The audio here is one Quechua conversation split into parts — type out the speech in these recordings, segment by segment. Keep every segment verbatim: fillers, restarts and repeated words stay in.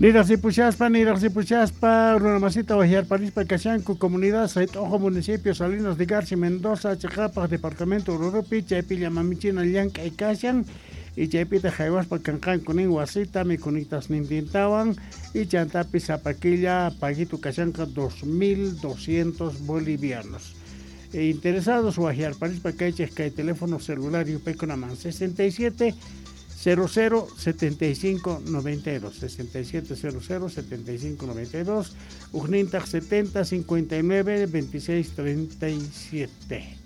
Niraq ripushaspa, niraq ripushaspa, runamasita waqyarparispa kashanku comunidad Sayt'uqu municipio Salinas de Garci Mendoza chiqapaq departamento Oruropi chaypi llamamichina llank'ay kashan y chaypitaq haywaspa kanqanku nin wasita mikhunitasnintintawan y chantapis sapa killa paguito kashanqa dos mil doscientos bolivianos. E interesados waqyarparispa kaychik kay teléfono celular yupaykunaman sesenta y siete cero cero setenta y cinco noventa y dos, sesenta y siete cero cero setenta y cinco noventa y dos, ujnintaq setenta cincuenta y nueve veintiséis treinta y siete.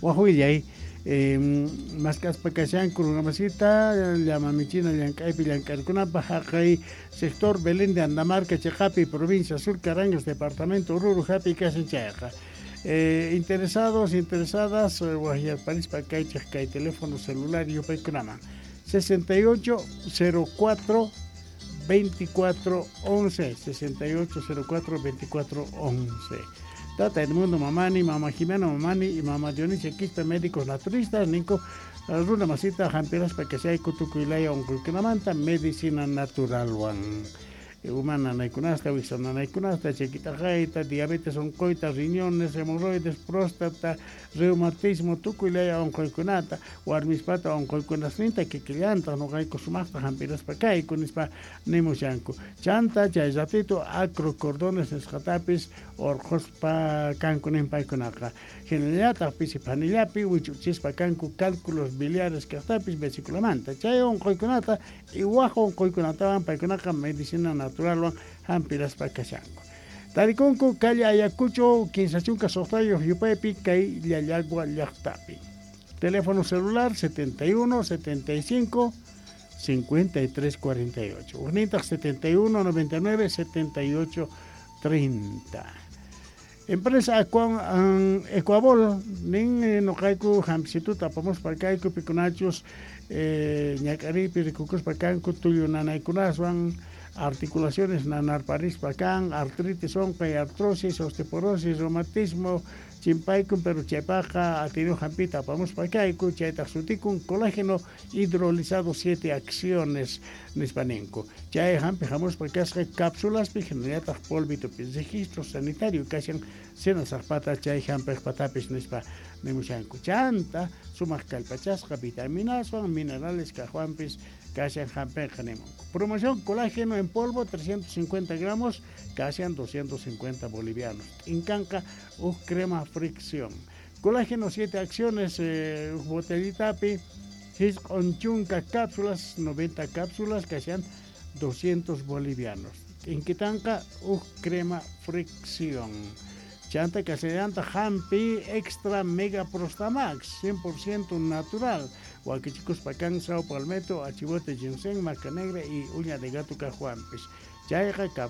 Wajwillay, eh, maskaspa kashanku runamasita, llamamichina llank'aypi llank'arkunapaq haqay sector Belén de Andamarca, Cheqapi, provincia Sur Carangas, departamento Oruro, hapi kashan chayqa. Eh, interesados, interesadas, eh, waqyarparispa kaychik kay teléfono celular yupaykunaman sesenta y ocho cero cuatro veinticuatro once, sesenta y ocho cero cuatro veinticuatro once. Tata Edmundo Mamani, Mama Jimena Mamani y Mama Dionisia Quispe, médicos naturistas, ninko runa masita hampiraspa kashayku tukuylaya unquykunamanta medicina naturalwan. Humana nanaykunasta, wiksa nanaykunasta, chakitaqayta, diabetes unquyta, riñones, hemorroides, próstata, reumatismo, tukuylaya unquykunata, warmispata unquykunasninta kikillanta, nuqayku sumaqta hampiraspa kayku nispa nimushanku. Chanta chay ratito acrocordones nisqatapis urquspa kanku nin paykunaqa. Hinallataq pisi phanillapi wichuchispa kanku cálculos biliares kaqtapis vesiculamanta. Chay unquykunata y waj unquykunatawan paykunaqa medicina naturalwan hampiraspa kashanku. Tarikunku calle Ayacucho, kinsa chunka suqtayuq yupaypi kay Llallagua llaqtapi. Teléfono celular setenta y uno, setenta y cinco, cincuenta y tres, cuarenta y ocho. Urnintaq setenta y uno, noventa y nueve, setenta y ocho, treinta. Empresa Aqua, Ecuabol, nin, eh, noqayku hampishituta apamuspa kayku pikunachus, eh, ñak'aripi rikukuspa kanku tullu nanaykunaswan, articulaciones nanarparispa kan, artritis unquy, artrosis, osteoporosis, reumatismo, chimpaykun, pero chaypaqqa atinu hampita apamuspa kayku, chaytaq sutikun colágeno hidrolizado siete acciones nispa ninku. Chay hampi hamuspa kasqa cápsulaspi, hinallataq polvitopi, registro sanitario kashan senasaqpata chay hampiqpatapis nispa nimushanku. Chanta sumaq kallpachasqa vitaminaswan, minerales kaqwanpis kashan hampiqa nimunku. Promoción colágeno en polvo trescientos cincuenta gramos, kashan doscientos cincuenta bolivianos. Inkanqa uj crema fricción. Colágeno siete acciones, eh, uj botellitapi, hisq'un chunka cápsulas, noventa cápsulas, kashan doscientos bolivianos. Inkitanqa uj crema fricción. Chanta kasallanta hampi extra mega prostamax, cien por ciento natural. Wakichikuspa kan sao palmetto, achibote ginseng, maca negra y uña de gato cajuampis. Chayqa